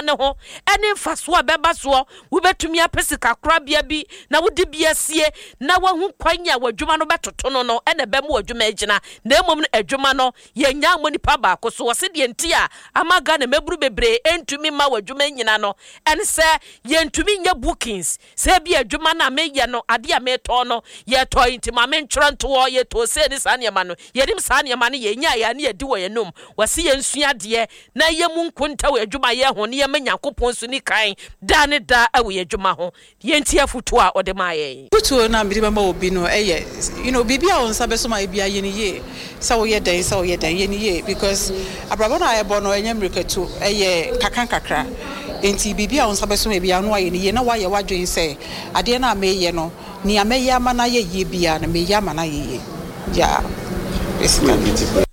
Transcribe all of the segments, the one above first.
nneɛma no ho ne mfasoɔ a ɛbɛba soɔ. Wobɛtumi apɛ sikakorabea bi na wode bi asie na woahu kwan a w'adwuma no bɛtoto no no na ɛbɛma w'adwuma agyina. Na mmom no adwuma no yɛnnya mmɔ nipa baako so. Wɔse deɛ nti a ama Ghana mmabunu bebree ntumi mma w'adwuma nnyina no ɛne sɛ yɛntumi nyɛ bookings. Sɛ ebia adwuma no a meyɛ no, adeɛ a metɔn no, yɛtɔe nti ma mentwerɛ nto hɔ, yɛtɔɔ sei ne saa nneɛma no. Yɛnim saa nneɛma no yɛ, yɛnyaeɛ a ne yɛadi wɔ yɛn anom. Wɔse yɛnsua adeɛ na yɛmmu nkonta wɔ yɛn adwumayɛ ho na yɛmma Nyankopɔn nso nni kan daa ne daa wɔ yɛn adwuma ho. Yɛntie afotuo a ɔde maa yɛn. Afotuo no a mede bɛma obi no yɛ, you know, biribi a wo nsa bɛso mu ayɛ biara yɛ no yie. Sɛ woyɛ dɛn, sɛ woyɛ dɛn, yɛ no yie because abrabɔ no a yɛbɔ no ɛnyɛ mmirikatu, ɛyɛ nkakra nkakra. Enti biribi a wo nsa bɛso mu biara no woayɛ no yie na woayɛ w'adwene sɛ adeɛ no a mereyɛ no, nea mɛyɛ ama no ayɛ yie biara no, mereyɛ ama no ayɛ yie. Yeah, basically.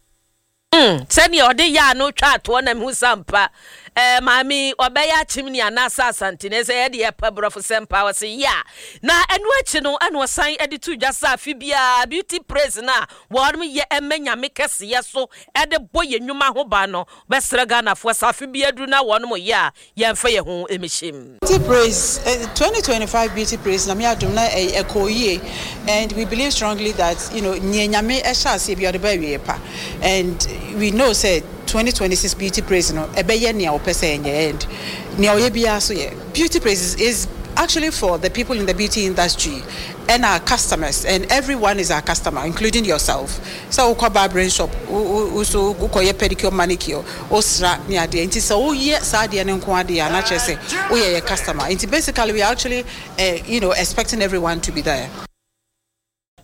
Mm, sɛdeɛ ɔde yaa no twaa toɔ na mehu sɛ ampa eh, maame yi ɔbɛyɛ akyemni anaasɛ asanteni sɛ yɛde yɛpɛ borɔfo sɛm paa ɔse ya na ɛno akyi no ɛna ɔsan de to dwa sɛ afe biara beauty praise no a wɔnom yɛ ɛma nyame kɛseyɛ so ɛde bɔ yɛn nnwuma ho ban no bɛsrɛ Ghanafoɔ sɛ afe biara duru na wɔnom yɛ a yɛmfa yɛn ho mhyem. Beauty praise 2025 beauty praise Nyame adom na ɛkɔɔ yie and we believe strongly that you know nea Nyame hyɛ aseɛ biara ɔde ba awieɛ pa and we know sɛ 2026 beauty praise no ɛbɛyɛ nea ɔpɛ sɛ ɛnyɛ and nea ɔyɛ biara so yɛ beauty praise is actually for the people in the beauty industry and our customers and everyone is our customer including yourself sɛ wokɔ barbering shop wo wo so wokɔyɛ pedicure manicure wosra ne adeɛ nti sɛ woyɛ saa adeɛ no nko adeɛ a na kyerɛ sɛ woyɛ yɛ customer nti basically we are actually eh, you know expecting everyone to be there.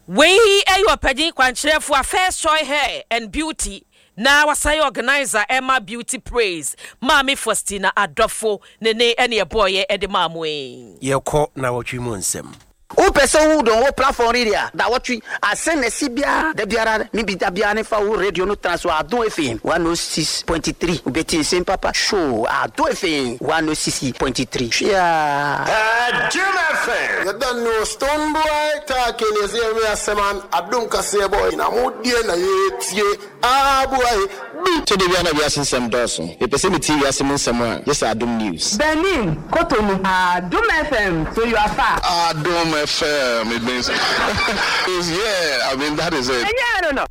Wei yɛ ɔpanyin kwankyerɛfo a First Choice Hair and Beauty na wasan yɛ organiser ɛma Beauty Praise, Maame Faustina Adɔfo ne ne ɛne ɛbɔɔyɛ de maa mo yi. Yɛkɔ nawɔtwe mu nsɛm. Wo pɛ sɛ wo dɔn wo platform ri a dawɔtwe ase na ɛsi biara da biara ne bi da biara ne fa wo radio no tena so Adom FM 106.3 wo bɛ tie nsem papa show Adom FM 106.3 hweaa. Adom FM. You don't know stone boy talking you see me asɛm an adom kaseɛ boy na mo deɛ na yɛtie ah boy bi. Tɔ da bi a na wiase nsɛm dɔɔso. Mepɛ sɛ metie wiase mu nsɛm a, gye sɛ Adom News. Benin, Cotonou. Adom FM, so you are far. Adom FM, it means yeah, I mean that is it. Ɛnyɛ ɛno no.